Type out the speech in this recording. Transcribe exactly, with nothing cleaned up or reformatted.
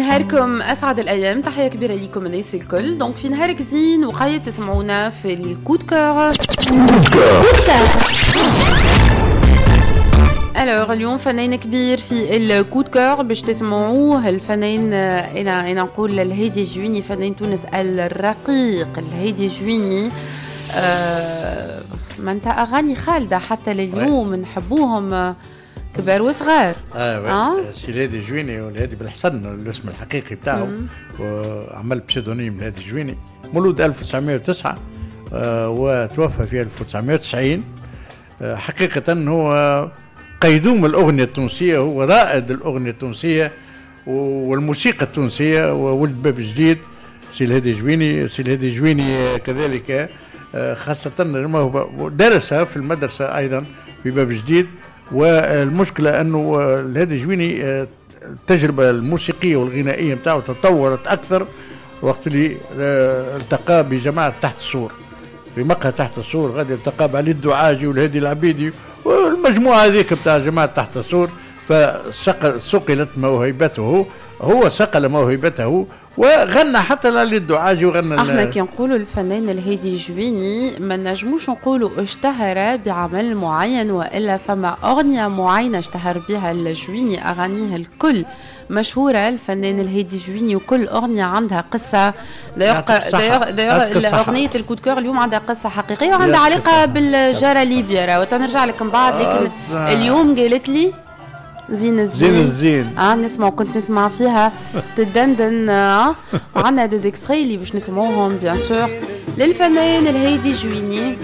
نهاركم اسعد الايام، تحية كبيرة لكم الناس الكل. donc في نهارك زين وقايد تسمعونا في ال coup de cœur. alors اليوم فنان كبير في ال coup de cœur باش تسمعوه، الفنان انا انا نقول الهادي جويني، فنان تونس الرقيق الهادي جويني. آه معناتها اغاني خالدة حتى لليوم نحبوهم كبار وصغار. اه, آه؟ سي الهادي جويني والهادي بالحسن الاسم الحقيقي بتاعه، وعمل pseudonyme الهادي جويني. مولود ألف وتسعمية وتسعة آه وتوفى في ألف وتسعمية وتسعين. آه حقيقة هو قيدوم الأغنية التونسية، هو رائد الأغنية التونسية والموسيقى التونسية، وولد باب جديد سي الهادي جويني. سي الهادي جويني كذلك آه، خاصة درس في المدرسة أيضا في باب جديد. والمشكلة أنه الهادي جويني آه، التجربة الموسيقية والغنائية بتاعه تطورت أكثر وقت اللي آه، التقى بجماعة تحت السور، في مقهى تحت السور غادي التقى بعلي الدعاجي والهادي العبيدي والمجموعة هذيك بتاع جماعة تحت السور، فصقلت موهبته، هو صقل موهبته وغنى حتى لعلي الدعاجي وغنى. احنا كي نقولوا الفنان الهادي جويني ما نجموش نقولوا اشتهر بعمل معين والا فما اغنية معينة اشتهر بها الجويني. اغانيه الكل مشهوره، الفنان الهادي جويني، وكل اغنية عندها قصه. d'ailleurs اغنية ال coup de cœur اليوم عندها قصة حقيقية وعندها علاقة بالجاره ليبيا، وتنرجع لك من بعد. لكن اليوم قالت لي زين الزين. زين الزين. اه نسمع، كنت نسمع فيها تدندن. اه وعندنا des extraits اللي باش نسمعوهم bien sûr للفنان الهادي جويني.